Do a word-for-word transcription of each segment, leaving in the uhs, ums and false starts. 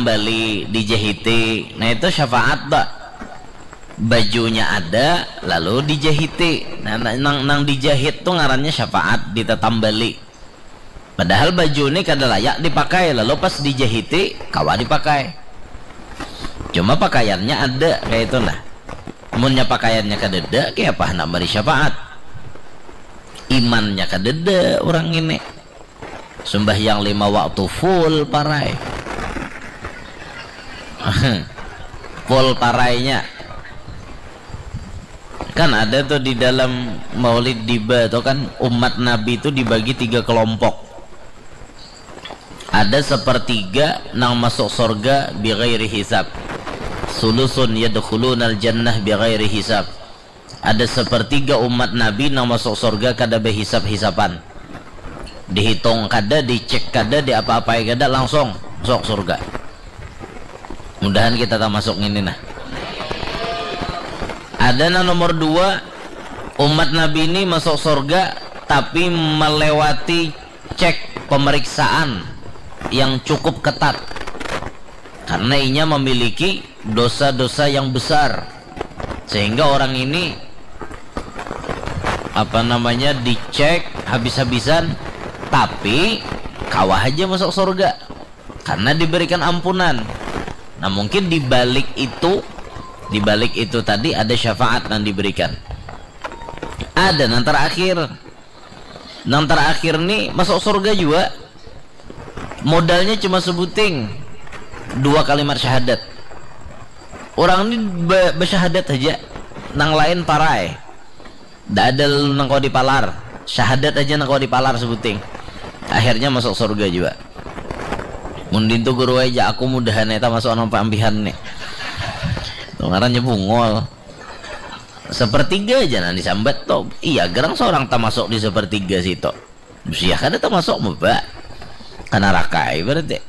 Bali, dijahiti. Nah, itu syafaat, Pak. Bajunya ada, lalu dijahiti. Nah, na- nang nang dijahit tuh ngarannya syafaat, ditatambali. Padahal baju ni kada layak dipakai, lalu pas dijahiti, kawa dipakai. Cuma pakaiannya ada, kayak itu nah. Munnya pakaiannya kadada, kaya apa handak bari syafaat? Imannya kadada urang ini. Sumbahyang lima waktu full parai. Full parainya. Kan ada tuh di dalam Maulid Diba tuh kan, umat Nabi itu dibagi tiga kelompok. Ada sepertiga nang masuk surga bighairi hisab. Sulusun yadkhulunal jannah bighairi hisab. Ada sepertiga umat Nabi nang masuk surga kada behisap-hisapan. Dihitung kada, dicek kada, diapa-apai kada, langsung masuk surga. Mudahan kita termasuk ini nah. Ada nang nomor dua, umat Nabi ini masuk surga tapi melewati cek pemeriksaan yang cukup ketat. Karena inya memiliki dosa-dosa yang besar, sehingga orang ini, apa namanya, dicek habis-habisan, tapi kawa aja masuk surga karena diberikan ampunan. Nah, mungkin di balik itu, di balik itu tadi ada syafaat yang diberikan. Ada nang terakhir. Nang terakhir nih masuk surga juga. Modalnya cuma sebuting, dua kalimat syahadat. Orang ini be- bersyahadat aja, nang lain parai. Ndak ada lalu nang kawa dipalar. Syahadat aja nang kawa dipalar sebuting. Akhirnya masuk surga juga. Mundin tuh guru aja, aku mudahan eta masuk nang paambihan nih. Tuh ngarannya bungol. Sepertiga aja nang disambat tuh. Iya, gerang seorang termasuk di sepertiga situ. Sia kada termasuk meba. Kana rakai berarti.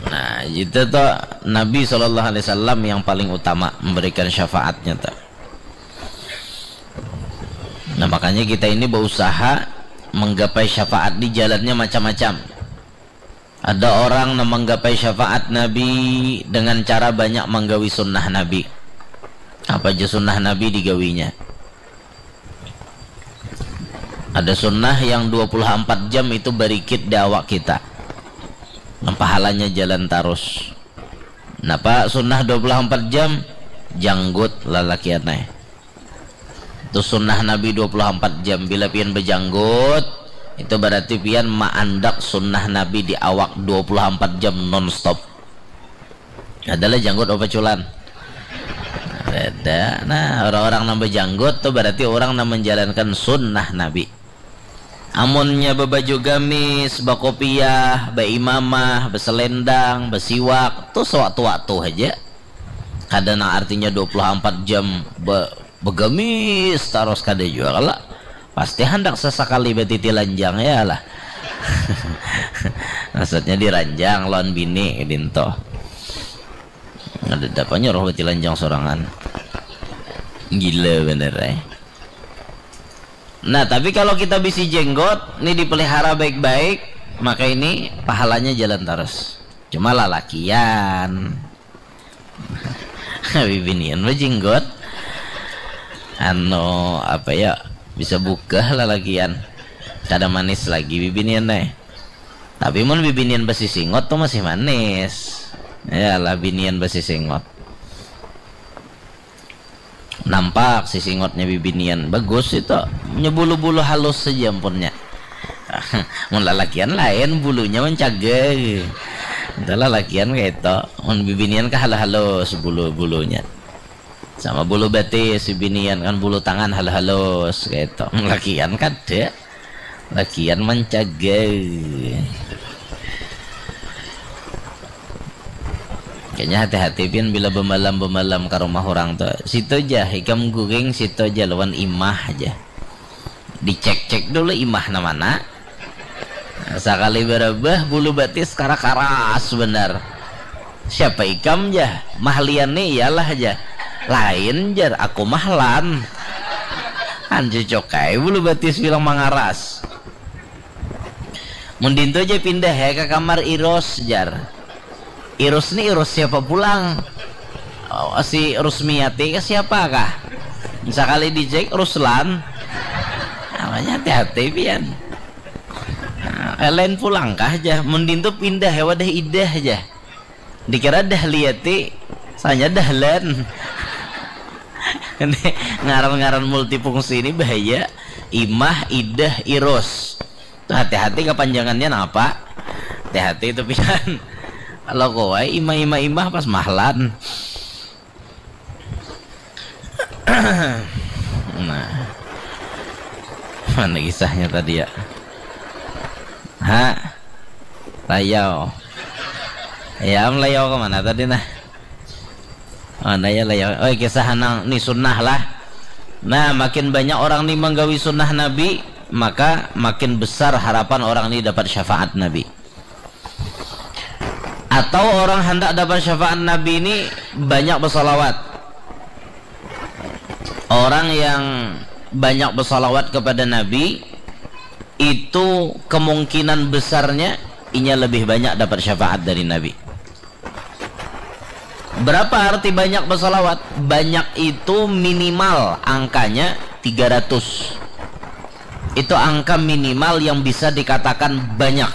Nah, itu tuh Nabi Shallallahu Alaihi Wasallam yang paling utama memberikan syafaatnya tuh. Nah, makanya kita ini berusaha menggapai syafaat di jalannya macam-macam. Ada orang nang manggapai syafaat Nabi dengan cara banyak manggawi sunnah Nabi. Apa aja sunnah Nabi digawinya. Ada sunnah yang dua puluh empat jam itu barikit di awak kita. Nang pahalanya jalan tarus. Napa sunnah dua puluh empat jam? Janggut lalakian ai. Itu sunnah Nabi dua puluh empat jam. Bila pian bejanggut, itu berarti pian maandak sunnah Nabi di awak dua puluh empat jam non stop. Adalah janggut apa culan? Beda. Nah, orang-orang nang bejanggut tuh berarti orang nang menjalankan sunnah Nabi. Amunnya bebaju gamis, bakopiah, baimamah, beselendang, besiwak, tuh sewaktu-waktu aja. Kada nang artinya dua puluh empat jam be- begamis taros, kada jua kalo. Pasti handak sasakali batiti lanjang ya lah. Maksudnya diranjang lawan bini dinto. Ada dapanya roh bati lanjang sorangan. Gila bener eh. Nah, tapi kalau kita bisi jenggot, ini dipelihara baik-baik, maka ini pahalanya jalan terus. Cuma lalakian. Bibinian bejenggot. Anu, apa ya? Bisa bukah lalakian. Kada manis lagi bibinian eh. Tapi mun bibinian basisingot tuh masih manis. Ya lah, binian basisingot. Nampak sisingotnya bibinian. Bagus itu. Nya bulu-bulu halus saja ampunnya. Mun lalakian lain, bulunya mancagai. Itu lalakian kayak itu. Mun bibinian kah halus-halus bulu-bulunya. Sama bulu batis bibinian kan, bulu tangan halus-halus kayak itu. Mun lakian kada. Lakian mancagai. Kayaknya hati-hati pian bila bemalam-bemalam ke rumah orang tuh. Situ aja, ikam guring situ aja lawan imah aja. Dicek-cek dulu imah na mana. Sakali barabah bulu batis kara-karas benar. Siapa ikam jah? Mahlian nih iyalah jah. Lain jar, aku mahlan. Anju cokai bulu batis bilang mangaras. Mundin tuh aja pindah ya ke kamar Iros jar. Irus ni Irus siapa pulang? Oh, si Rusmiati ke siapa kah? Sekali dicek Ruslan. Namanya hati-hati pian. Nah, lain pulang kah aja. Mending tu pindah ya wadah idah aja. Dikira Dahliati, sanya Dahlan. Ini ngaran-ngaran multifungsi ini bahaya. Imah, idah, irus. Tuh, hati-hati kepanjangannya napa? Hati-hati itu pisan. Kalau kowai imah imah imah pas mahlan. Nah. Mana kisahnya tadi ya? Ha? Layau. Ya, am layau kemana tadi nah? Mana ya layau? Oh, kisah nang ni sunnah lah. Nah, makin banyak orang ni menggawi sunnah Nabi, maka makin besar harapan orang ni dapat syafaat Nabi. Atau orang hendak dapat syafaat Nabi ini banyak bersalawat. Orang yang banyak bersalawat kepada Nabi itu kemungkinan besarnya inya lebih banyak dapat syafaat dari Nabi. Berapa arti banyak bersalawat? Banyak itu minimal angkanya tiga ratus. Itu angka minimal yang bisa dikatakan banyak.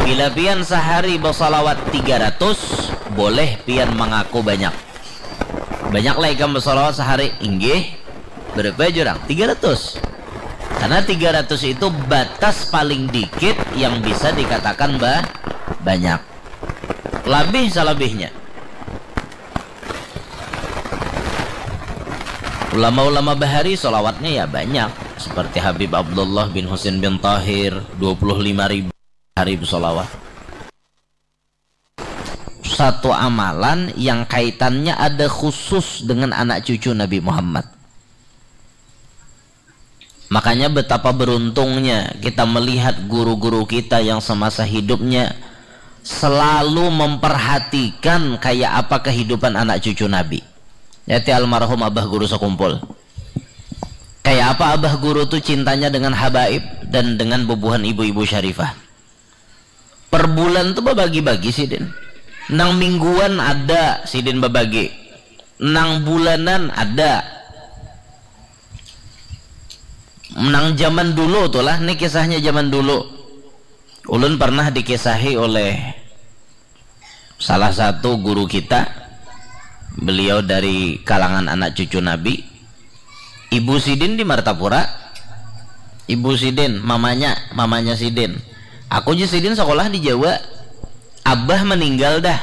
Bila pian sehari bersalawat tiga ratus, boleh pian mengaku banyak. Banyak lah ikam bersalawat sehari, inggih. Berapa jurang? Tiga ratus. Karena tiga ratus itu batas paling dikit yang bisa dikatakan ba banyak. Labih salabihnya. Ulama-ulama bahari salawatnya ya banyak. Seperti Habib Abdullah bin Husin bin Tahir, dua puluh lima ribu hari bersalawat. Satu amalan yang kaitannya ada khusus dengan anak cucu Nabi Muhammad. Makanya betapa beruntungnya kita melihat guru-guru kita yang semasa hidupnya selalu memperhatikan kayak apa kehidupan anak cucu Nabi. Yaitu almarhum Abah Guru Sekumpul. Kayak apa Abah Guru tuh cintanya dengan habaib dan dengan bubuhan ibu-ibu syarifah. Per bulan tuh babagi-bagi sidin. Nang mingguan ada sidin babagi. Nang bulanan ada. Nang zaman dulu tuh lah, ini kisahnya zaman dulu. Ulun pernah dikisahi oleh salah satu guru kita. Beliau dari kalangan anak cucu Nabi. Ibu sidin di Martapura. Ibu sidin, mamanya, mamanya sidin. Aku je sidin sekolah di Jawa. Abah meninggal dah.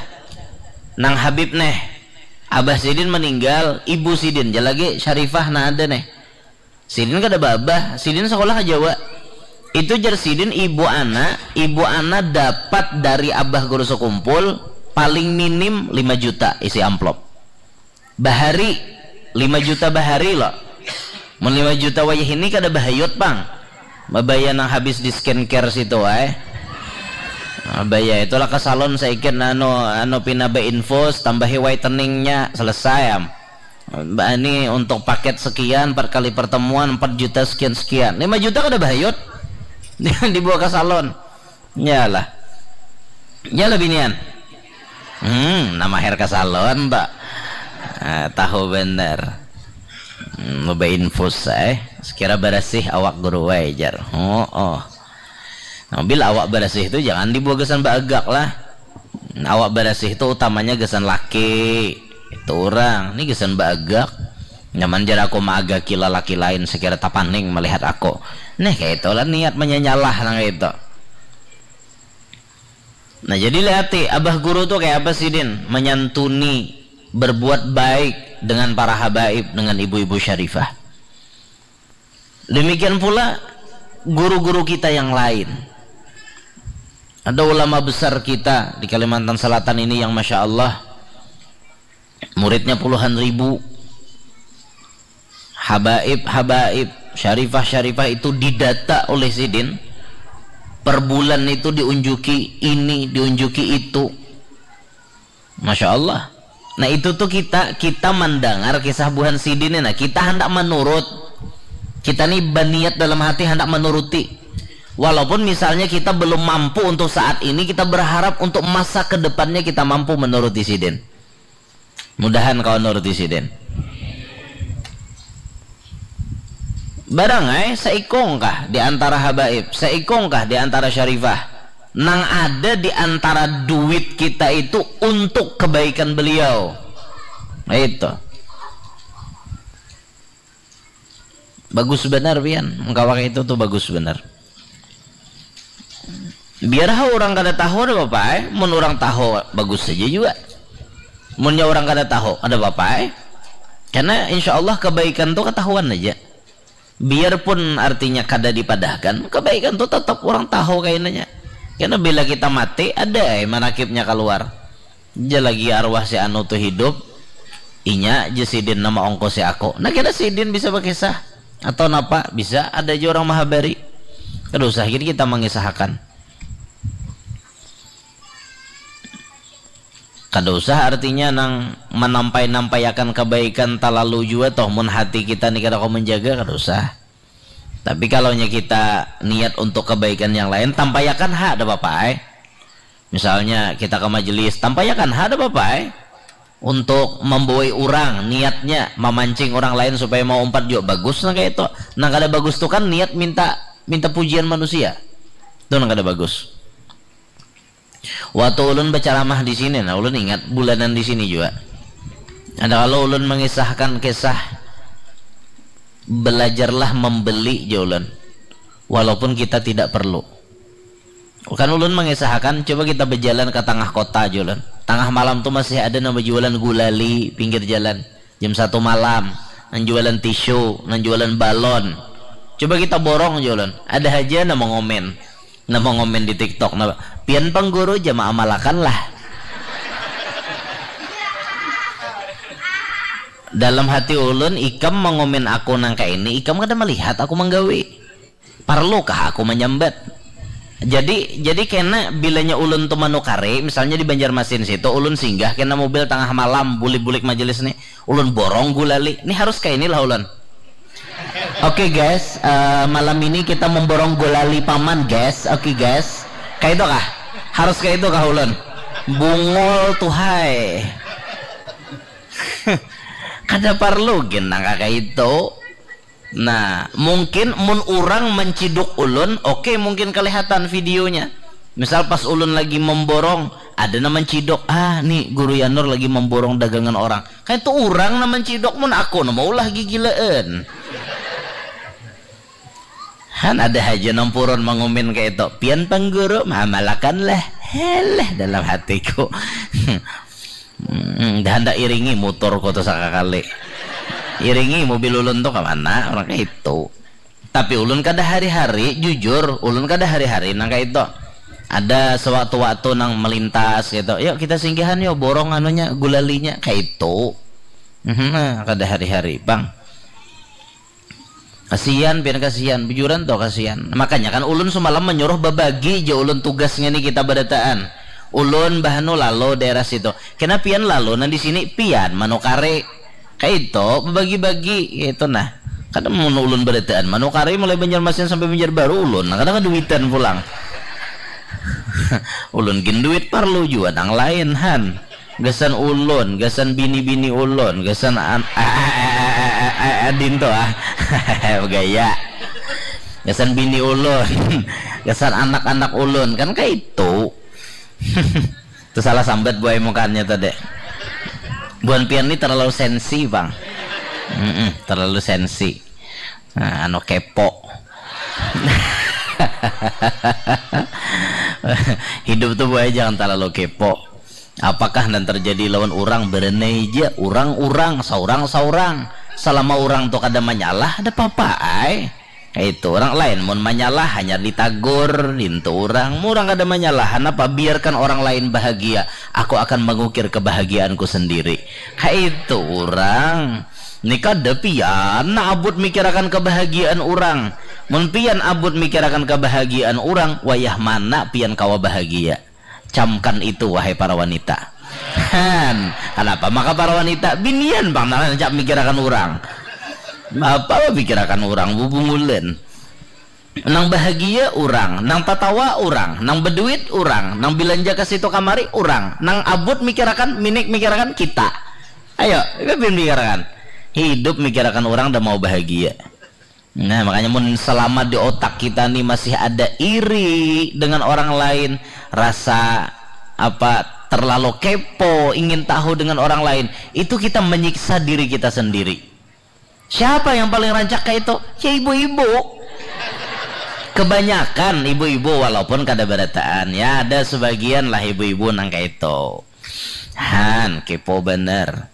Nang Habib neh. Abah sidin meninggal, ibu sidin je lagi Syarifah nah ada neh. Sidin kada babah, sidin sekolah ke Jawa. Itu jar sidin ibu ana, ibu ana dapat dari Abah Guru Sekumpul paling minim lima juta isi amplop. Bahari, lima juta bahari lo. Mun lima juta wayah ini kada bahayut pang. Mabaya nang habis di skincare situ wae. Mabaya itulah ke salon saikit anu anu pina ba infus tambahi whiteningnya selesai am. Mbak Ani untuk paket sekian empat kali pertemuan empat juta sekian sekian lima juta kada bahayut. Dibawa ke salon. Nyalah. Nyalah binian. Hmm, nama hair ke salon, Mbak. Ah, tahu bener. Hmm, loba infus eh. Sekira barasih awak guru wae jar. Oh, oh. Nah, bila awak barasih itu jangan dibawa gasan baagak lah. Awak barasih itu utamanya gasan laki. Itu orang, ini gasan baagak. Nyaman jar aku maagaki lalaki lain sekira tapaning melihat aku. Neh, kayak itulah niat menyanyalah nang itu. Nah, jadi lihati, Abah Guru tuh kayak apa sih, Din? Menyantuni, berbuat baik dengan para habaib, dengan ibu-ibu syarifah. Demikian pula guru-guru kita yang lain. Ada ulama besar kita di Kalimantan Selatan ini yang Masya Allah, muridnya puluhan ribu. Habaib, habaib, syarifah, syarifah itu didata oleh sidin. Per bulan itu diunjuki ini, diunjuki itu. Masya Allah. Nah, itu tuh kita kita mendengar kisah buhan sidin. Nah, kita hendak menurut. Kita nih berniat dalam hati hendak menuruti. Walaupun misalnya kita belum mampu untuk saat ini, kita berharap untuk masa kedepannya kita mampu menuruti sidin. Mudahan kawa nuruti sidin. Barang ai, saikung kah di antara habaib, saikung kah di antara syarifah, nang ada di antara duit kita itu untuk kebaikan beliau. Itu. Bagus benar, pian. Mengkawak itu tuh bagus benar. Biar ha orang kada tahu, ada apa-apa ai. Mun orang tahu, bagus saja juga. Munnya orang kada tahu, ada apa-apa ai. Karena insya Allah kebaikan tuh ketahuan aja. Biarpun artinya kada dipadahkan, kebaikan tuh tetap orang tahu kainanya. Karena bila kita mati, ada ai manakibnya keluar. Ja lagi arwah si anu tu hidup, inya ja sidin nama ongkosi aku. Nah, kena sidin bisa bakisah. Atau napa, bisa ada aja orang mahabari. Kada usah gin kita mangisahakan. Kada usah artinya nang manampai-nampaiakan kebaikan talalu jua toh, mun hati kita ni kada kawa menjaga, kada usah. Tapi kalau nya kita niat untuk kebaikan yang lain, tampaiakan ha, ada apa-apa ai. Misalnya kita ke majelis, tampaiakan ha, ada apa-apa ai. Untuk membawai orang, niatnya memancing orang lain supaya mau umpat juga bagus nang kayak itu. Nang kada bagus tu kan niat minta minta pujian manusia. Itu nang kada bagus. Waktu ulun berceramah di sini, nah ulun ingat bulanan di sini juga. Ada kalau ulun mengisahkan kisah belajarlah membeli, ja ulun. Walaupun kita tidak perlu. Kan ulun mengisahkan, coba kita berjalan ke tengah kota, ja ulun. Tengah malam tuh masih ada nang berjualan gulali pinggir jalan. Jam satu malam, nang jualan tisu, nang jualan balon. Coba kita borong, ja ulun. Ada aja nang mengomen. Nang mengomen di TikTok, nang, "Pian pang guru, ja maamalakan lah." Dalam hati ulun, ikam mengomen aku nang kayak ini, ikam kada melihat aku menggawe. Parlukah aku menyambat? Jadi jadi kena bilanya ulun tu manukari, misalnya di Banjarmasin situ ulun singgah kena mobil tengah malam, bulik-bulik majelis nih, ulun borong gulali, nih harus kayak inilah ulun. Oke guys, eh, malam ini kita memborong gulali paman guys. Oke guys, kayak itu kah? Harus kayak itu kah ulun? Bungul tuh hai. Kada perlu gin nang kayak itu. Nah, mungkin mun urang menciduk ulun, oke, mungkin kelihatan videonya. Misal pas ulun lagi memborong, ada nang menciduk, ah, nih guru Yanur lagi memborong dagangan orang. Kayak itu urang nang menciduk, mun aku nang maulah gigilaan. Han ada haja nang purun mangumin kayak itu. Pian pang guru, maamalakan lah. Heleh dalam hatiku. Hmm, dah handak iringi motor kau tu sakakali. Iringi mobil ulun tu ke mana? Orang kayak itu. Tapi ulun kada hari-hari, jujur, ulun kada hari-hari nang kayak itu. Ada sewaktu-waktu nang melintas gitu. Yuk kita singgahan yuk, borong anunya, gulalinya kayak itu. Mhm, nah, kada hari-hari, Bang. Kasian, pian kasian, bujuran tuh kasian. Makanya kan ulun semalam menyuruh babagi ja ulun tugas ngini kita barataan. Ulun bahanu lalu daerah situ. Kena pian lalu nang di sini pian manukari. Kayak itu, babagi-bagi kayak itu nah. Kada mun ulun barataan manukari mulai Banjarmasin sampai Banjarbaru ulun, nah, kada kaduitan pulang. Ulun gin duit parlu jua nang lain han. Gasan ulun, gasan bini-bini ulun, gasan an- a- a- a- a- a- adin tu ah. Gaya. Gasan bini ulun, gasan anak-anak ulun, kan kayak itu. Tu salah sambat buai mukanya tadi. Buan pian ni terlalu sensi bang. Mm-mm, terlalu sensi. Nah, anu kepo. Hidup tu buai jangan terlalu kepo. Apakah nan terjadi lawan urang berenai ja, urang-urang, saurang-saurang. Selama urang tu kada manyalah, ada papa ai. Kaitu, urang lain mun manyalah hanyar ditagur, dintu urang. Mun urang kada manyalah, hanapa biarkan orang lain bahagia, aku akan mengukir kebahagiaanku sendiri. Kaitu urang. Ni kada pian abut mikirakan kebahagiaan urang. Mun pian abut mikirakan kebahagiaan urang, wayah mana pian kawa bahagia? Camkan itu, wahai para wanita. Han, kanapa maka para wanita? Binian pang nang rancak mikirakan urang. Apa pikirakan urang, bubungulan. Nang bahagia urang, nang tatawa urang, nang beduit urang, nang belanja ke situ kamari urang, nang abut mikirakan, minik mikirakan kita. Ayo, pian mikirakan. Hidup mikirakan urang dah mau bahagia. Nah, makanya mun selama di otak kita nih masih ada iri dengan orang lain, rasa apa terlalu kepo, ingin tahu dengan orang lain, itu kita menyiksa diri kita sendiri. Siapa yang paling rancak kayak itu? Ya ibu-ibu. Kebanyakan ibu-ibu walaupun kada berataan. Ya ada sebagian lah ibu-ibu nang kayak itu. Han, kepo bener.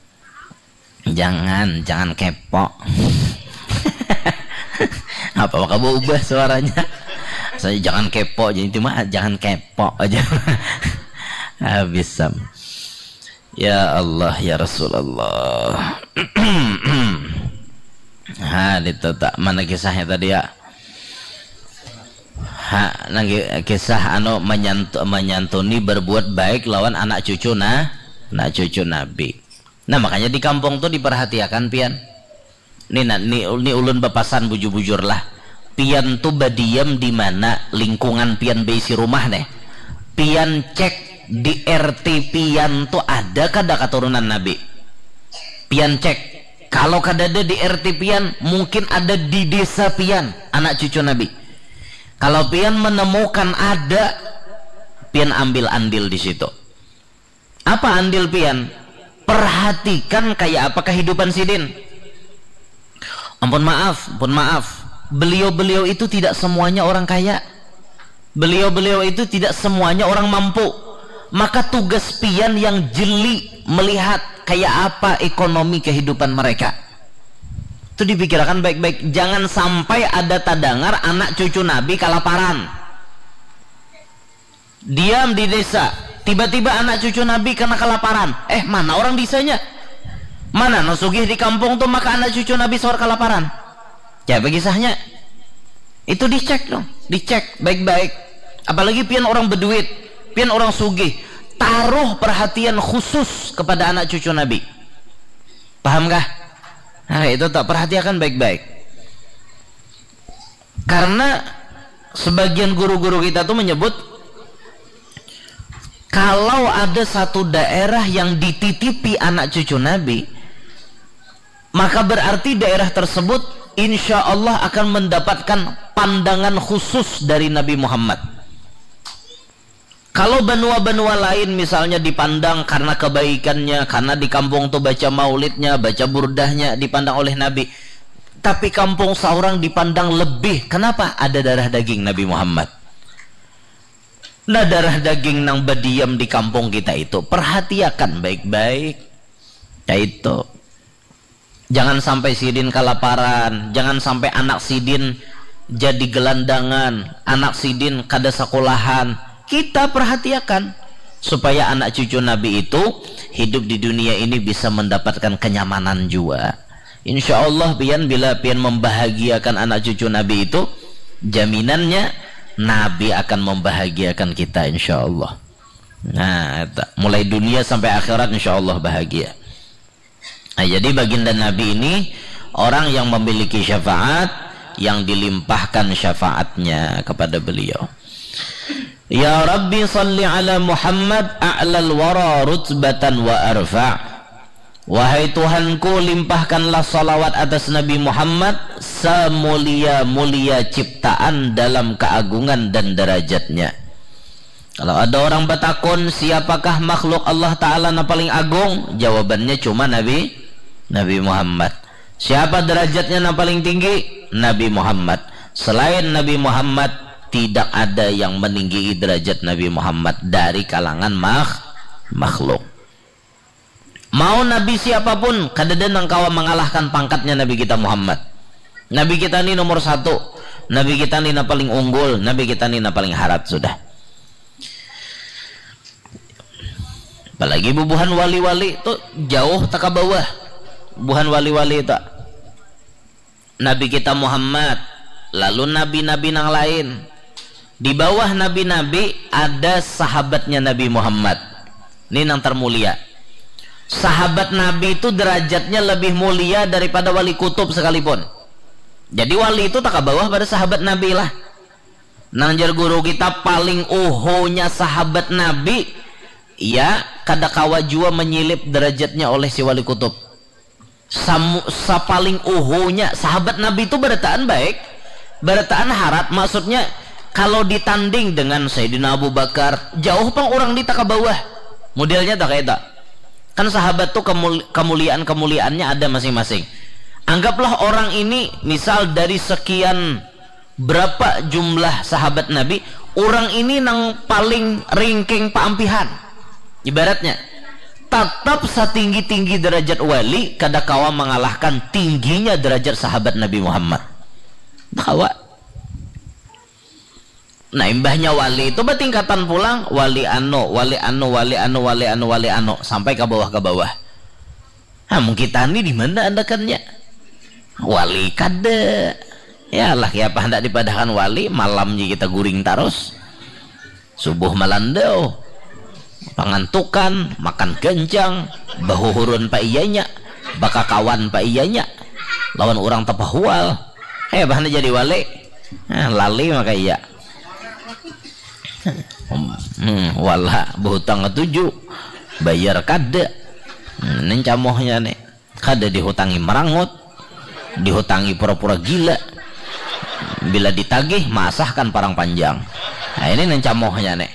Jangan, jangan kepo. Apa maka berubah suaranya? Saya jangan kepo, jadi cuma jangan kepo aja. Habis sam. Ya Allah, ya Rasulullah. Ha, itu tak mana kisahnya tadi ya? Ha, nang kisah anu menyantu, menyantuni berbuat baik lawan anak cucu nah, anak cucu Nabi. Nah, makanya di kampung tuh diperhatiakan pian. Ni, ni, ni ulun bapasan bujur-bujur lah. Pian tuh badiam di mana lingkungan pian beisi rumah nih. Pian cek di R T pian tuh ada kada keturunan Nabi. Pian cek. Kalau kada ada di R T pian, mungkin ada di desa pian, anak cucu Nabi. Kalau pian menemukan ada, pian ambil andil di situ. Apa andil pian? Perhatikan kayak apa kehidupan sidin. Ampun maaf, ampun maaf. Beliau-beliau itu tidak semuanya orang kaya. Beliau-beliau itu tidak semuanya orang mampu. Maka tugas pian yang jeli melihat kayak apa ekonomi kehidupan mereka. Itu dipikirkan baik-baik. Jangan sampai ada tadangar anak cucu Nabi kalaparan. Diam di desa. Tiba-tiba anak cucu Nabi kena kelaparan. Eh, mana orang desanya? Mana nang sugih di kampung tuh maka anak cucu Nabi sawar kelaparan? Ya, bagi sahnya. Itu dicek dong, dicek baik-baik. Apalagi pian orang beduit, pian orang sugih, taruh perhatian khusus kepada anak cucu Nabi. Paham kah? Nah, itu tak perhatikan baik-baik. Karena sebagian guru-guru kita tuh menyebut kalau ada satu daerah yang dititipi anak cucu Nabi, maka berarti daerah tersebut insya Allah akan mendapatkan pandangan khusus dari Nabi Muhammad. Kalau banua-banua lain misalnya dipandang karena kebaikannya, karena di kampung tuh baca maulidnya, baca burdahnya dipandang oleh Nabi. Tapi kampung seorang dipandang lebih. Kenapa? Ada darah daging Nabi Muhammad. Nah, darah daging nang badiam di kampung kita itu, perhatiakan baik-baik. Ya itu. Jangan sampai sidin kalaparan, jangan sampai anak sidin jadi gelandangan, anak sidin kada sekolahan. Kita perhatiakan supaya anak cucu Nabi itu hidup di dunia ini bisa mendapatkan kenyamanan juga. Insya Allah pian bila pian membahagiakan anak cucu Nabi itu, jaminannya Nabi akan membahagiakan kita insya Allah. Nah, mulai dunia sampai akhirat insya Allah bahagia. Nah, jadi baginda Nabi ini orang yang memiliki syafaat yang dilimpahkan syafaatnya kepada beliau. Ya Rabbi salli ala Muhammad a'lal wara rutbatan wa arfa. Wahai Tuhanku, limpahkanlah salawat atas Nabi Muhammad semulia-mulia ciptaan dalam keagungan dan derajatnya. Kalau ada orang batakun, siapakah makhluk Allah Ta'ala na paling agung? Jawabannya cuma Nabi Nabi Muhammad. Siapa derajatnya na paling tinggi? Nabi Muhammad. Selain Nabi Muhammad, tidak ada yang meninggi derajat Nabi Muhammad dari kalangan makh makhluk. Mau nabi siapapun, kadada nang kawa mengalahkan pangkatnya Nabi kita Muhammad. Nabi kita ni nomor satu. Nabi kita ni na paling unggul. Nabi kita ni na paling harat sudah. Apalagi bubuhan wali-wali tu jauh taka bawah. Bubuhan wali-wali tu. Nabi kita Muhammad, lalu nabi-nabi nang lain. Di bawah nabi-nabi ada sahabatnya Nabi Muhammad. Ini nang termulia. Sahabat Nabi itu derajatnya lebih mulia daripada wali kutub sekalipun. Jadi wali itu tak bawah pada sahabat Nabi lah. Nang jar guru kita paling uhunya sahabat Nabi, ya, kada kawa jua menyilip derajatnya oleh si Wali Kutub. Samu, sapaling uhunya sahabat Nabi itu barataan baik, barataan harat, maksudnya kalau ditanding dengan Sayyidina Abu Bakar, jauh pang orang di taka bawah. Modelnya tak kayak itu. Kan sahabat tuh kemul, kemuliaan-kemuliaannya ada masing-masing. Anggaplah orang ini misal dari sekian berapa jumlah sahabat Nabi, orang ini nang paling ringking paampihan. Ibaratnya, tatap satinggi-tinggi derajat wali kada kawa mengalahkan tingginya derajat sahabat Nabi Muhammad. Kawa. Nah, imbahnya wali itu bertingkatan pulang, wali anu, wali anu, wali anu, wali anu, wali anu, sampai ke bawah, ke bawah. Nah, mungkin tani di mana andakannya? Wali kada. Ya lah, ya apa hendak dipadahakan wali, malam ji kita guring tarus. Subuh malandau. Pangantukan, makan gancang, bahuhurun pa iyanya, bakakawan pa iyanya, lawan urang tapahual. Eh, apa hendak jadi wali? Nah, lali maka iya. Hmm, wala, bahutang katuju, bayar kada. Hmm, ini camohnya nih. Kada dihutangi merangut, dihutangi pura-pura gila. Bila ditagih, maasahkan parang panjang. Nah, ini nang camohnya nih.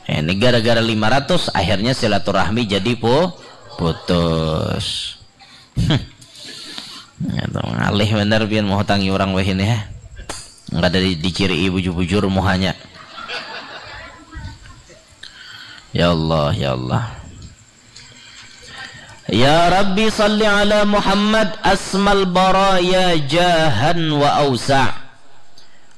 Ini gara-gara lima ratus, akhirnya silaturahmi jadi pu, putus. Ya, tuh, ngalih bener pian mahutangi orang weh ini, ya. Nggak ada di, diciri bujur-bujur muhanya. Ya Allah, ya Allah. Ya Rabbi salli ala Muhammad asmal baraya jahan wa ausa.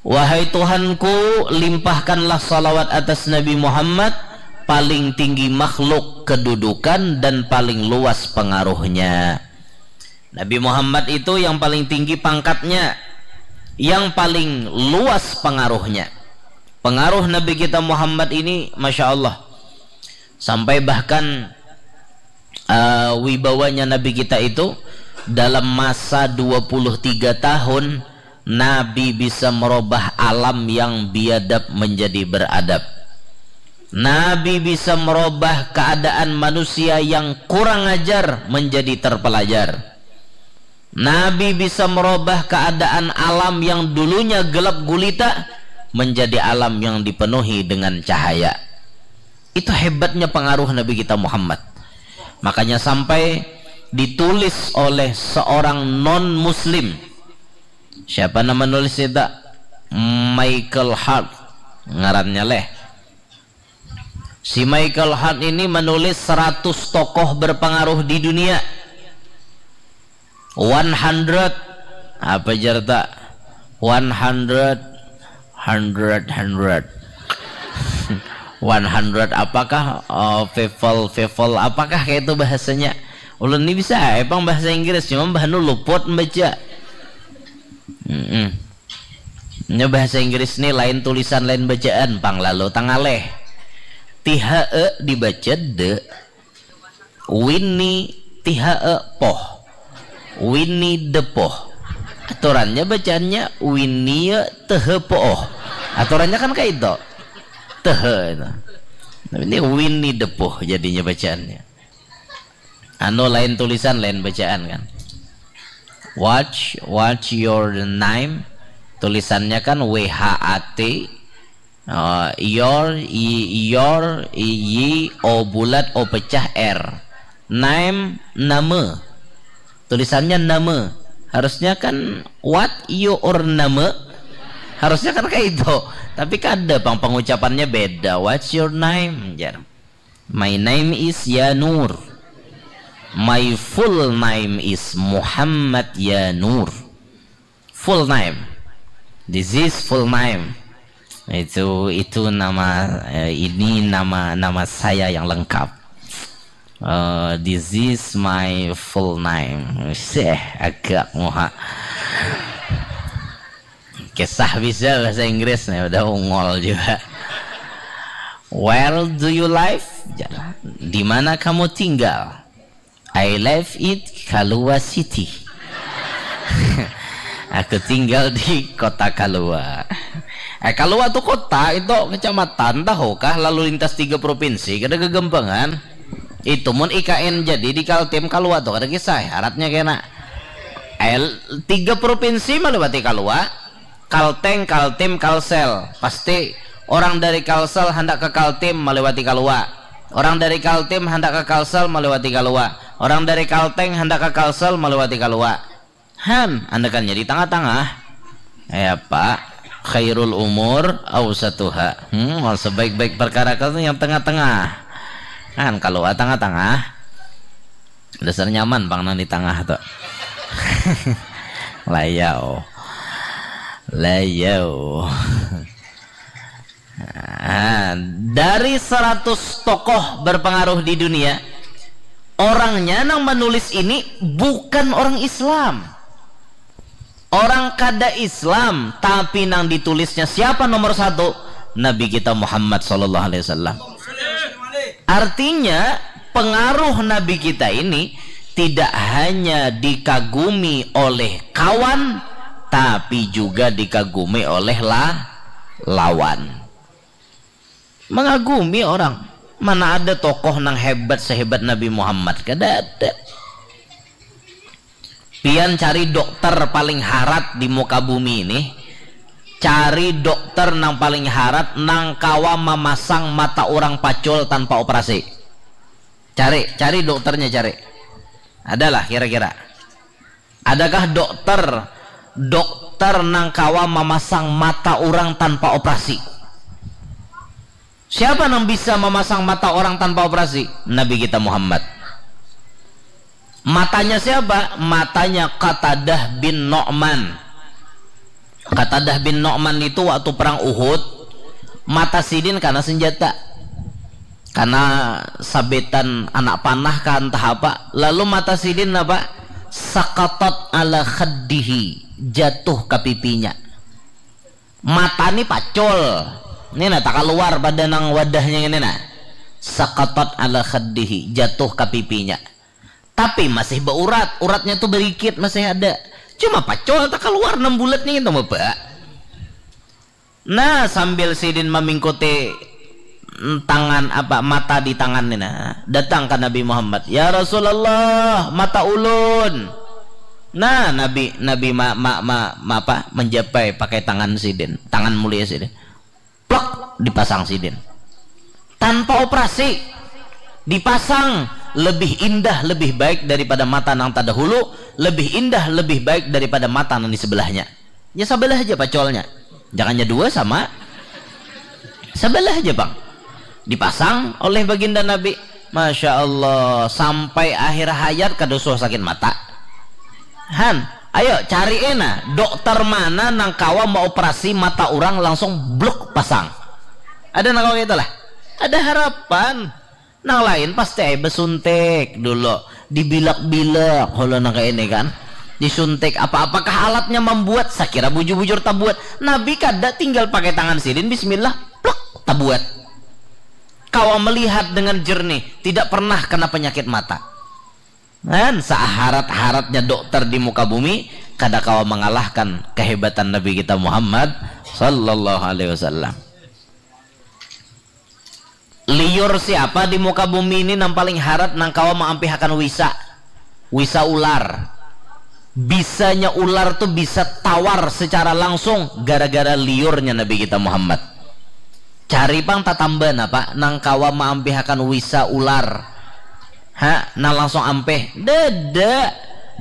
Wahai Tuhanku, limpahkanlah salawat atas Nabi Muhammad, paling tinggi makhluk kedudukan dan paling luas pengaruhnya. Nabi Muhammad itu yang paling tinggi pangkatnya, yang paling luas pengaruhnya. Pengaruh Nabi kita Muhammad ini, Masya Allah, sampai bahkan uh, wibawanya Nabi kita itu dalam masa dua puluh tiga tahun, Nabi bisa merubah alam yang biadab menjadi beradab. Nabi bisa merubah keadaan manusia yang kurang ajar menjadi terpelajar. Nabi bisa merubah keadaan alam yang dulunya gelap gulita menjadi alam yang dipenuhi dengan cahaya. Itu hebatnya pengaruh Nabi kita Muhammad. Makanya sampai ditulis oleh seorang non-muslim. Siapa nama nulis itu? Michael Hart ngarannya leh. Si Michael Hart ini menulis seratus tokoh berpengaruh di dunia. One hundred, apa jarta? One hundred, hundred, hundred. One hundred apakah? Oh, people, people apakah kayak itu bahasanya? Ulun ini bisa, eh, pang bahasa Inggris, cuma bahanu luput membaca. Mm-mm. Nya bahasa Inggris ni lain tulisan, lain bacaan, pang lalu tangaleh. T H E dibaca de. Winnie T H E poh. Winnie the Pooh. Aturannya bacaannya Winnie T H E poh. Aturannya kan kayak itu. T H E itu. Tapi ini Winnie the Pooh jadinya bacaannya. Anu lain tulisan, lain bacaan kan. Watch, watch your name. Tulisannya kan W H A T. Oh, your, i, your, i, y, o bulat, o pecah, r. Name, nama. Tulisannya nama. Harusnya kan what your nama. Harusnya kan kayak itu. Tapi kada pang, pengucapannya beda. What's your name? Jar. My name is Yanur. My full name is Muhammad Yanur. Full name. This is full name. Itu itu nama, eh, ini nama nama saya yang lengkap. Eh, this is my full name. Seh, agak muha. Kisah bisa bahasa Inggris nih, udah ungol juga. Where do you live? Di mana kamu tinggal? I live in Kalua City. Aku tinggal di kota Kalua. Eh, Kalua tu kota, itu kecamatan, tahu kah? Lalu lintas tiga provinsi, kada gagampangan. Itu mun I K N jadi di Kaltim, Kalua tu kada kisah, syaratnya kena. Eh, tiga provinsi melewati Kalua. Kalteng, Kaltim, Kalsel. Pasti orang dari Kalsel hendak ke Kaltim melewati Kalua. Orang dari Kaltim hendak ke Kalsel melewati Kalua. Orang dari Kalteng hendak ke Kalsel melewati Kalua. Han, andakannya di tengah-tengah. Ya, Pak. Khairul umur ausatuha. Hmm, sebaik-baik perkara itu yang tengah-tengah. Han, kalau tengah-tengah, dasar nyaman pang nang di tengah tu. Layau. Layau. Nah, dari seratus tokoh berpengaruh di dunia, orangnya nang menulis ini bukan orang Islam. Orang kada Islam, tapi nang ditulisnya siapa nomor satu? Nabi kita Muhammad sallallahu alaihi wasallam. Artinya, pengaruh Nabi kita ini tidak hanya dikagumi oleh kawan, tapi juga dikagumi oleh la-, lawan. Mengagumi orang. Mana ada tokoh nang hebat sehebat Nabi Muhammad? Kada ada. Pian cari dokter paling harat di muka bumi ini. Cari dokter nang paling harat nang kawa mamasang mata orang pacul tanpa operasi. Cari, cari dokternya, cari. Adalah kira-kira. Adakah dokter, dokter nang kawa mamasang mata orang tanpa operasi? Siapa nang bisa mamasang mata orang tanpa operasi? Nabi kita Muhammad. Matanya siapa? Matanya Qatadah bin Nu'man. Qatadah bin Nu'man itu waktu perang Uhud, mata sidin kana senjata. Kana sabetan anak panah kah entah apa. Lalu mata sidin apa? Sakatat ala khaddihi, jatuh ke pipinya. Mata ni pacul. Ini nah, tak keluar pada nang wadahnya ini nah. Sakatat ala khaddihi, jatuh ke pipinya. Tapi masih beurat, uratnya tu berikit masih ada. Cuma pacul tak keluar enam bulatnya itu, Bapak. Nah, sambil sidin memingkuti tangan apa, mata di tangan ni nah, datang ke Nabi Muhammad, "Ya Rasulullah, mata ulun." Nah, Nabi, Nabi ma, ma, ma, ma, apa, menjapai pakai tangan sidin, tangan mulia sidin. Plek, dipasang sidin. Tanpa operasi, dipasang, lebih indah, lebih baik daripada mata nang terdahulu, lebih indah, lebih baik daripada mata nang di sebelahnya. Ya, sebelah aja pacolnya. Jangannya dua sama. Sebelah aja, Bang. Dipasang oleh baginda Nabi. Masya Allah, sampai akhir hayat kada usah sakit mata. Han, ayo cari ena dokter mana nang kawa mau operasi mata orang langsung bluk pasang. Ada nang kawa gitu lah. Ada harapan. Nang lain pasti ai besuntik dulu, dibilak-bilak kalau nang kayak ini kan. Disuntik apa-apakah alatnya membuat, sakira bujur-bujur tabuat. Nabi kada, tinggal pakai tangan sidin, bismillah, pluk, tabuat. Kawa melihat dengan jernih, tidak pernah kena penyakit mata. Kan saharat-haratnya dokter di muka bumi, kada kawa mengalahkan kehebatan Nabi kita Muhammad sallallahu alaihi wasallam. Liur siapa di muka bumi ini nang paling harat nang kawa maampihakan wisa? Wisa ular. Bisanya ular tu bisa tawar secara langsung gara-gara liurnya Nabi kita Muhammad. Cari pang tatamba napa nang kawa maampihakan wisa ular. Ha, nang langsung ampih. Dada.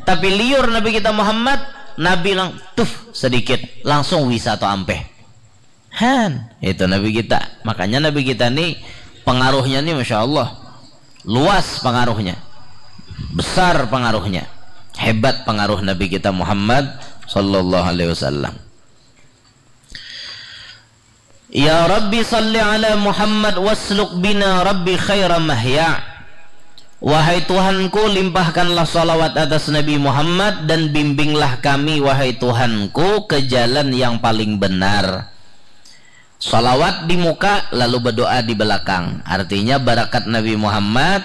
Tapi liur Nabi kita Muhammad, Nabi lang tuf sedikit, langsung wisa tu ampih. Han, itu Nabi kita. Makanya Nabi kita ni pengaruhnya ni Masya Allah. Luas pengaruhnya. Besar pengaruhnya. Hebat pengaruh Nabi kita Muhammad sallallahu alaihi wasallam. Ya Rabbi salli ala Muhammad wasluk bina Rabbi khaira mahya. Wahai Tuhanku, limpahkanlah salawat atas Nabi Muhammad dan bimbinglah kami, wahai Tuhanku, ke jalan yang paling benar. Salawat di muka, lalu berdoa di belakang. Artinya, barakat Nabi Muhammad,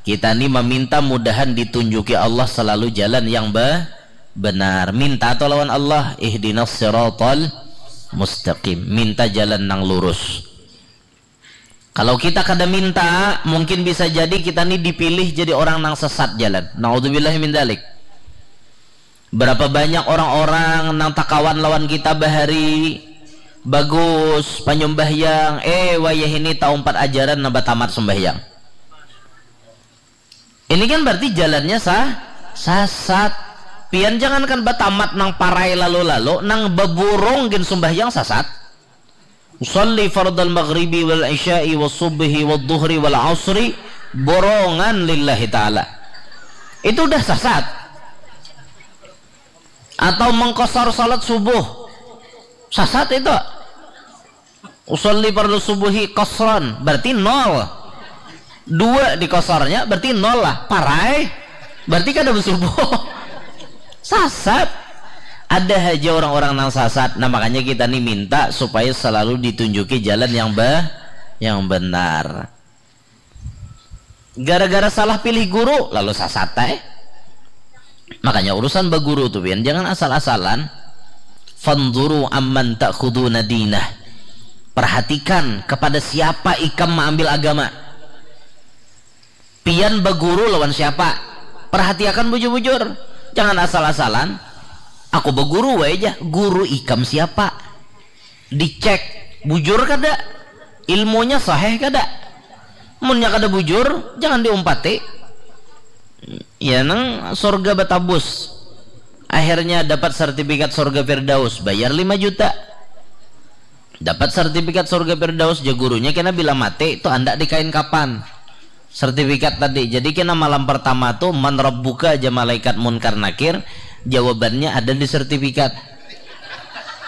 kita ni meminta mudahan ditunjuki Allah selalu jalan yang be-, benar. Minta tu lawan Allah, ihdinas siratal mustaqim, minta jalan nang lurus. Kalau kita kada minta, mungkin bisa jadi kita ni dipilih jadi orang nang sesat jalan. Naudzubillahi min dzalik. Berapa banyak orang-orang nang takawan lawan kita bahari, bagus panyumbahyang, eh, wayah ini taumpat ajaran nang batamat sumbahyang. Ini kan berarti jalannya sah, sasat. Pian jangankan batamat nang parai lalu-lalu, nang baburung gin sumbahyang sasat. Usalli fardal maghribi wal isya'i was subhi wad duhri wal asri borongan lillahi ta'ala. Itu udah sasat. Atau mengkosor salat subuh. Sasat itu. Usalli fardal subuhi qasran, berarti nol. Dua di kosornya, berarti nol lah. Parai, berarti kada bersubuh. Sasat. Ada aja orang-orang nang sasat. Nah, makanya kita nih minta supaya selalu ditunjuki jalan yang be yang benar. Gara-gara salah pilih guru, lalu sasat, eh. Makanya urusan baguru tuh, pian, jangan asal-asalan. Fanzuru amman ta'khuduna dinah. Perhatikan kepada siapa ikam mengambil agama. Pian baguru lawan siapa? Perhatiakan bujur-bujur. Jangan asal-asalan. Aku baguru wae ja. Guru ikam siapa? Dicek bujur kada? Ilmunya sahih kada? Munnya kada bujur, jangan diumpati. Ya, nang surga batabus. Akhirnya dapat sertifikat surga Firdaus, bayar lima juta. Dapat sertifikat surga Firdaus, ja gurunya kena bila mati, tu andak dikain kapan. Sertifikat tadi. Jadi kena malam pertama tu, "Man rabbuka?" aja malaikat Munkar Nakir, jawabannya ada di sertifikat.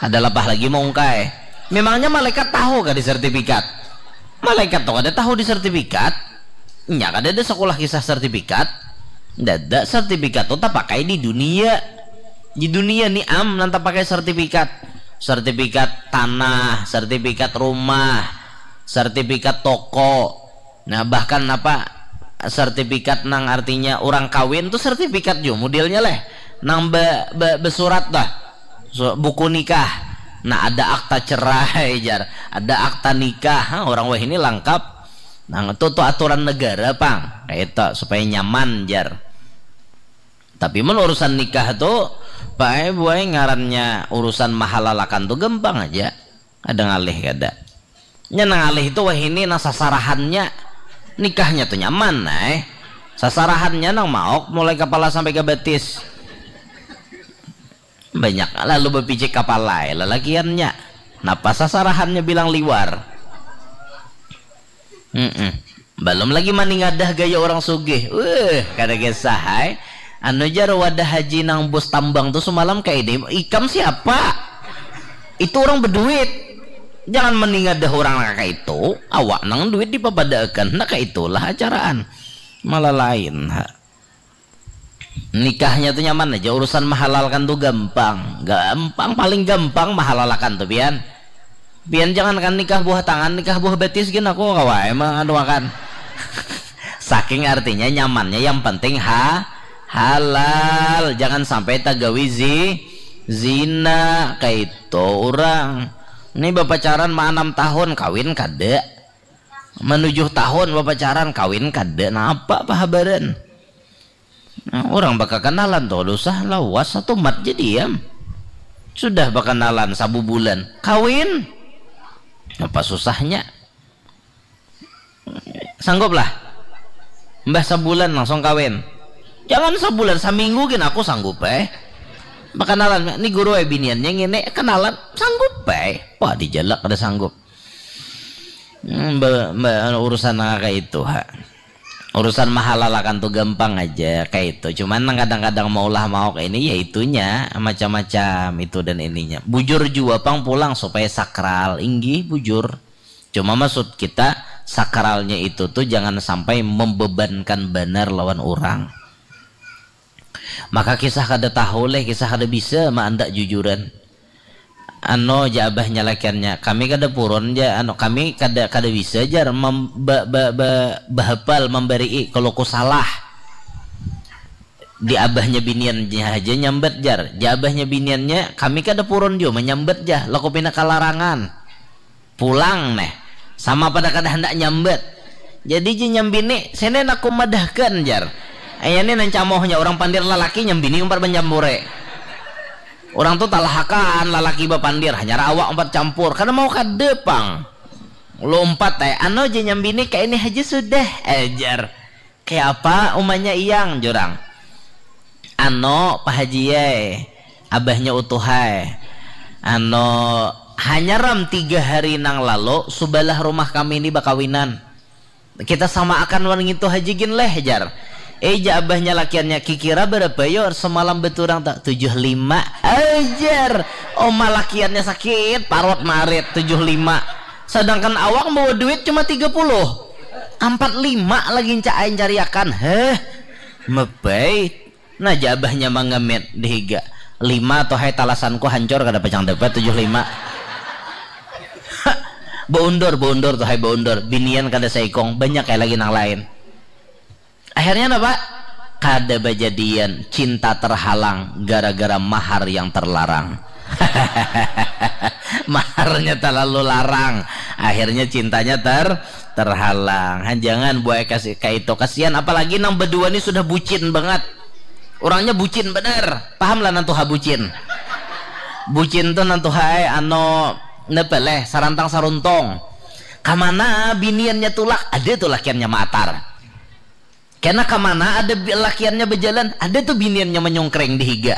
Ada lapah lagi mau ungkai. Memangnya malaikat tahu kah di sertifikat? Malaikat tu kada tahu di sertifikat. Nya kada ada sekolah kisah sertifikat. Dada sertifikat tu tapakai di dunia. Di dunia ni am nang tapakai sertifikat. Sertifikat tanah, sertifikat rumah, sertifikat toko. Nah, bahkan apa, sertifikat nang artinya orang kawin tu sertifikat jua modelnya leh. Nang be, be, besurat dah. So, buku nikah. Nah, ada akta cerai, jar. Ada akta nikah. Ha, orang wahini lengkap. Nah, itu tu aturan negara pang. Kayak itu, supaya nyaman, jar. Tapi mun urusan nikah tu, pae buai ngarannya urusan mahalalakan tu gampang aja. Ada ngalih kada. Nya nang ngalih tu wahini nang sasarahannya. Nikahnya tu nyaman, ai. Sasarahannya nang maok mulai kapala sampai ka batis. Banyak lalu bapijik kapala ai lalakiannya. Napa sasarahannya bilang liwar? Mm-mm. Balum lagi maningadah gaya orang sugih. Weh, kada kisah ai. Anu jar wadah haji nang bus tambang tu sumalam kaini, "Ikam siapa? Itu orang beduit. Jangan maningadah orang nang kaya itu. Awak nang duit dipapadaakan." Nah, kaya itulah acaraan. Malah lain, ha. Nikahnya tu nyaman aja, urusan mahalalkan tu gampang. Gampang, paling gampang mahalalakan tu, pian. Pian jangankan nikah buah tangan, nikah buah batis gin aku kawa ai manganuakan. Saking artinya nyamannya, yang penting ha halal, jangan sampai tagawi zi zina, kaitu urang. Ni bapacaran ma anam tahun, kawin kada. Manujuh tahun bapacaran, kawin kada. Napa pahabaran? Nah, urang bakakanalan tu kada usah lawas, satumat ja diam. Sudah bakanalan sabubulan, kawin. Napa susahnya? Sanggup lah. Mbah sabulan langsung kawin. Jangan sabulan, saminggu gin aku sanggup ai. Bakanalan, ni guru ai biniannya ngini, kanalan, sanggup ai. Wah, dijalak kada sanggup. Hmm, ba, ba, anu, urusan nang kaya itu, ha. Urusan mahalalakan tu gampang aja, kaya itu. Cuman nang kadang-kadang maulah maok ini, ya itunya, macam-macam itu dan ininya. Bujur jua pang pulang supaya sakral, inggih bujur. Cuma maksud kita, sakralnya itu tu jangan sampai membebankan banar lawan urang. Maka kisah kada tahu leh, kisah kada bisa maandak jujuran. Anu ja abahnya lakiannya, kami kada purun ja, anu, kami kada, kada bisa jar mem, ba, ba, ba, bahapal, mambarii kalau ku salah. Di abahnya biniannya haja nyambat, jar. Di abahnya biniannya, kami kada purun jua manyambat, jar. Laku pina kalarangan. Pulang neh. Sama pada kada handak nyambat. Jadi ji nyambini, sini aku madahkan, jar. Ayah ni nang camohnya, orang pandir lalaki nyambini umpat mancampure. Orang tu talahakan lalaki bapandir, hanyar awak umpat campur. Kada mau kada pang. Lumpat ai, anu ja nyambini, kaini haja sudah, ajar. Kaya apa umanya iyang, jurang? Anu, Pak Haji ai, abahnya Utuh ai. Anu, hanyaram tiga hari nang lalu, subalah rumah kami ni bakawinan. Kita samaakan wan ngintu haja gin leh, jar. Eh, ja abahnya lakiannya, kikira barapa yo semalam baturang ta? Tujuh lima, ajar. Oma lakiannya sakit parut marit, tujuh lima. Sadangkan awak bawa duit cuma tiga puluh. Ampat lima lagi ncak ai ncariakan. Heh, mebai. Nah, ja abahnya mangamit di higa. Lima tuh hai, talasanku hancur, kada pacang dapat tujuh lima. Baundur, baundur tuh hai, baundur. Binian kada saikung, banyak kayak lagi nang lain. Akhirnya napa? Kada bajadian, cinta terhalang gara-gara mahar yang terlarang. Maharnya terlalu larang, akhirnya cintanya ter terhalang. Han, jangan buai kasi kayak itu, kasihan. Apalagi nang berdua ni sudah bucin banget. Orangnya bucin bener. Paham lah nantuha bucin. Bucin tuh nantuha ai, ano, napa leh, sarantang saruntung. Kamana biniannya tulak, ada tuh lakiannya maatar. Kena kamana ada bi- lakiannya berjalan, ada tuh biniannya menyongkreng di higa.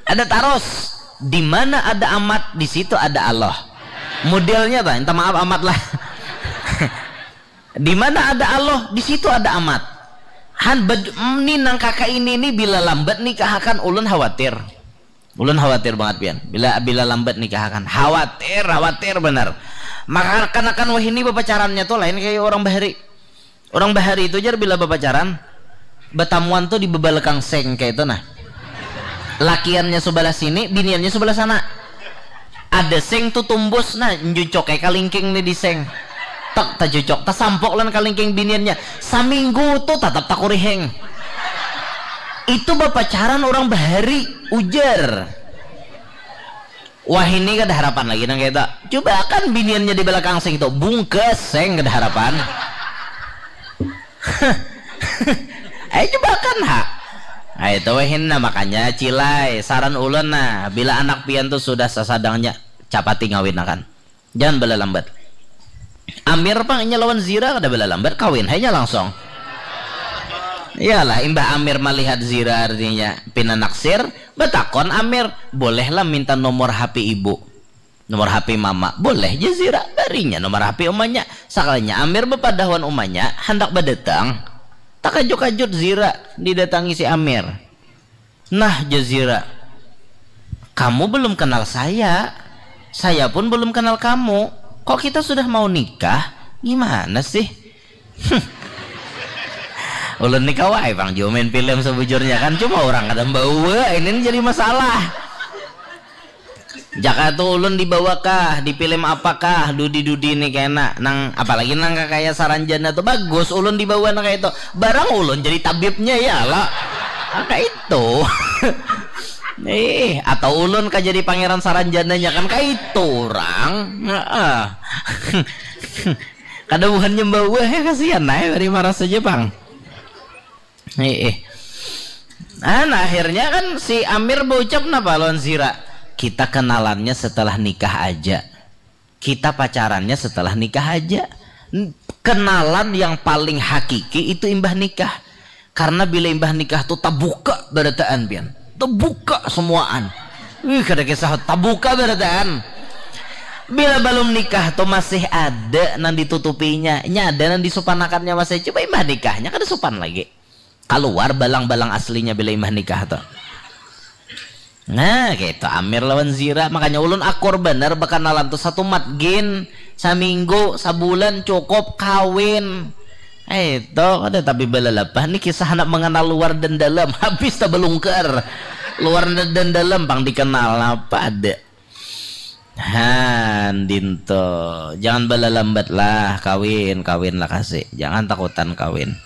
Ada taros, di mana ada amat, di situ ada Allah. Modelnya ta, minta maaf amat lah. Di mana ada Allah, di situ ada amat. Han bed, ni nang kaka ini ni bila lambat nikahakan ulun khawatir. Ulun khawatir banget pian. Bila bila lambat nikahakan, khawatir, khawatir benar. Maka kanakan wahini bapacarannya tuh lain kayak orang bahari. Orang bahari itu jar bila bapacaran, batamuan tuh di bebalekang seng kayak itu nah. Lakiannya sebelah sini, biniannya sebelah sana. Ada seng tuh tumbus, nah, njucok kayak kalingking nih di seng. Tak tajucok, tasampok lan kalingking biniannya. Saminggu tuh tatap takuriheng. Itu bapacaran orang bahari, ujar. Wah, ini kada harapan lagi nang kayak itu. Coba kan biniannya di belakang seng itu, bungkes seng kada harapan. Ayo coba kan ha. Ayo itu weh nah, makanya cilai, saran ulun nah, bila anak pian tuh sudah sasadangnya, capati ngawin akan. Jangan bala lambat. Amir pang inya lawan Zira kada bala lambat, kawin hanya langsung. Iyalah, imbah Amir malihat Zira artinya pina naksir, batakon Amir, bolehlah minta nomor H P ibu. Nomor H P mama, boleh ja Zira, barinya nomor H P umanya. Sakalinya Amir bapadahuan umanya, handak badatang. Takajuk-kajut Zira didatangi si Amir. Nah, ja Zira, kamu belum kenal saya. Saya pun belum kenal kamu. Kok kita sudah mau nikah? Gimana sih? Ulun ni kawa ai pang jua main film sebujurnya kan, cuma orang kada membawa, ini ni jadi masalah. Jaka tu ulun dibawa kah, di film apa kah, dudi-dudi ni kena nang, apalagi nang kakaya Saranjana tu bagus ulun dibawa nang kaya itu. Barang ulun jadi tabibnya ya lah. Angka itu. Ih, atau ulun kah jadi pangeran Saranjananya kan kaya itu orang. Heeh. Kada buhannya membawa ya, kasihan nah ya, bari marah saja pang. Heeh. Nah, nah, akhirnya kan si Amir baucap napa lawan Zira? Kita kenalannya setelah nikah aja. Kita pacarannya setelah nikah aja. N- Kenalan yang paling hakiki itu imbah nikah. Karena bila imbah nikah tuh tabuka barataan pian. Tabuka semuaan. Wih, kada kisah tabuka barataan. Bila belum nikah tuh masih ada nang ditutupinya, nya ada nang disupanakannya masih. Coba imbah nikahnya kada supan lagi. Kaluar balang-balang aslinya bila imbah nikah tuh. Nah, gitu Amir lawan Zira, makanya ulun akur bener bakanalan tuh satu matgin, saminggu, sabulan cukup kawin. Eh, itu kada tapi balalapah nih kisah anak mengenal luar dan dalam, habis tak belungker. Luar dan dalam pang dikenal apa ada. Han dinto, jangan balalambat lah kawin, kawin lah kasih, jangan takutan kawin.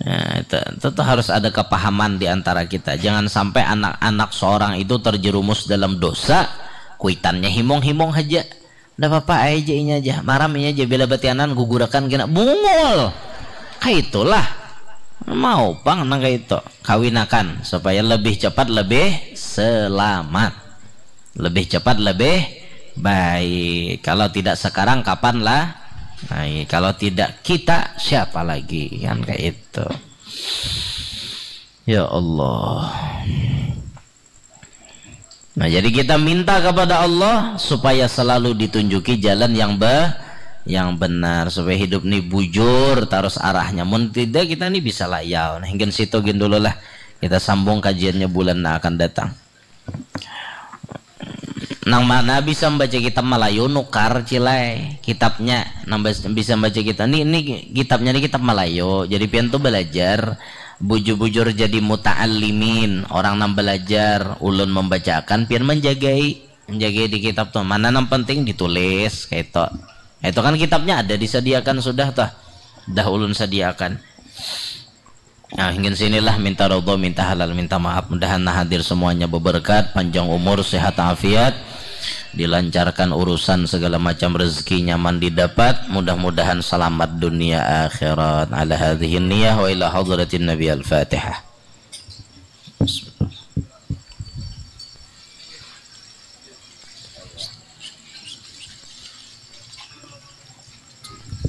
Nah, Itu, itu tuh harus ada kepahaman di antara kita. Jangan sampai anak-anak seorang itu terjerumus dalam dosa, kuitannya himung-himung aja. Ndak apa-apa, aja inya aja. Maram inya aja, bila batianan gugurakan kena bungul. Kayak itulah. Mau pang nang kayak itu. Kawinakan supaya lebih cepat, lebih selamat. Lebih cepat, lebih baik. Kalau tidak sekarang, kapan lah? Nah, kalau tidak kita, siapa lagi? Kan kayak itu. Ya Allah. Nah, jadi kita minta kepada Allah supaya selalu ditunjuki jalan yang be yang benar, supaya hidup ni bujur terus arahnya. Mun tidak, kita ni bisa layau. Nah, hinggan situ gin dulu lah. Kita sambung kajiannya bulan yang akan datang. Nang mana bisa membaca kitab Malayu, nukar, cilai kitabnya. Nang bisa membaca kitab ni, ini kitabnya ni kitab Malayu. Jadi pian tuh belajar bujur-bujur jadi muta'allimin, orang nang belajar. Ulun membacakan, pian menjagai, menjagai di kitab tuh. Mana nang penting ditulis, kayak itu. Itu kan kitabnya ada disediakan sudah tuh. Dah ulun sediakan. Nah, hinggan sinilah, minta ridho, minta halal, minta maaf. Mudahan nah hadir semuanya beberkat, panjang umur, sehat afiat, dilancarkan urusan, segala macam rezeki nyaman didapat. Mudah-mudahan selamat dunia akhirat. Ala hadhihi niyah wa ila hadratin Nabi. Al-Fatihah.